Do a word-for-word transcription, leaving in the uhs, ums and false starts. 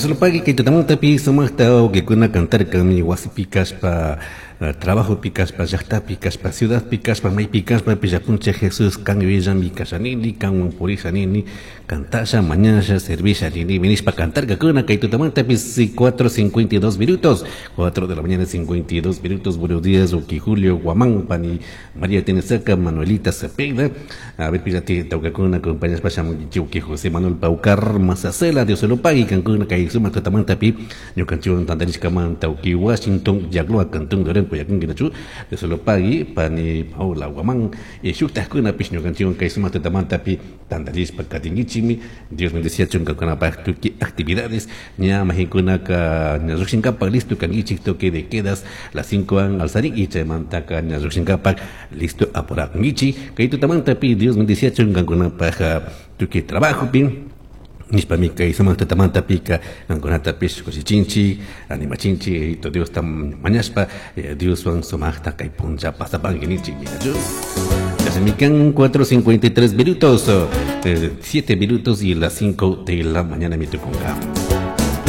Dios lo pague kay tutamantapi sumaqta wawqikuna cantarkami wasipi kashpa, trabajopi kashpa, llaqtapi kashpa, ciudadpi kashpa, maypi kashpa, pillapuncha Jesús kan yuyayllami kashanini, kanwan purishanini, cantasha, mañasha, servisha nini, nishpa cantarkakuna kay tutamantapi cuatro cincuenta y dos minutos, cuatro de la mañana cincuenta y dos minutos. Buenos días, Uki Julio Guamán, Pani María Tenesaca, Manuelita Cepeda, a ver, pillati tawkakuna, compañeros, pashamunkichik, Uki José Manuel Paucar, Mazacela, Dios se lo pague, Cancún, kay sumaq tutamantapi, ñukanchikwan tantarishkamanta, Uki Washington, Yagloa, Cantón, Lorenzo, Cuyacún, Dios se lo pague, Pani Paula Guamán, y shuktajkunapish ñukanchikwan kay sumaq tutamantapi tantarishpa katinkichikmi. Dios bendeciachun kankunapaj tukuy actividades, ña majinkunaka ña llukshinkapak listo kankichik, toque de quedas las cinco an alzarin y chaymantaka ña llukshinkapak listo apurakunkichik. Kay tutamantapi Dios bendeciachun kankunapaj tukuy trabajopi. Nishpami kay sumaq tutamantapika kankunatapish kushichinchik, animachinchik, Diosta mañashpa, Dioswan sumaqta kay puncha pasapanki ninchik. Ya se me quedan cuatro cincuenta y tres minutos, eh, siete minutos y las cinco de la mañana mi tucunga.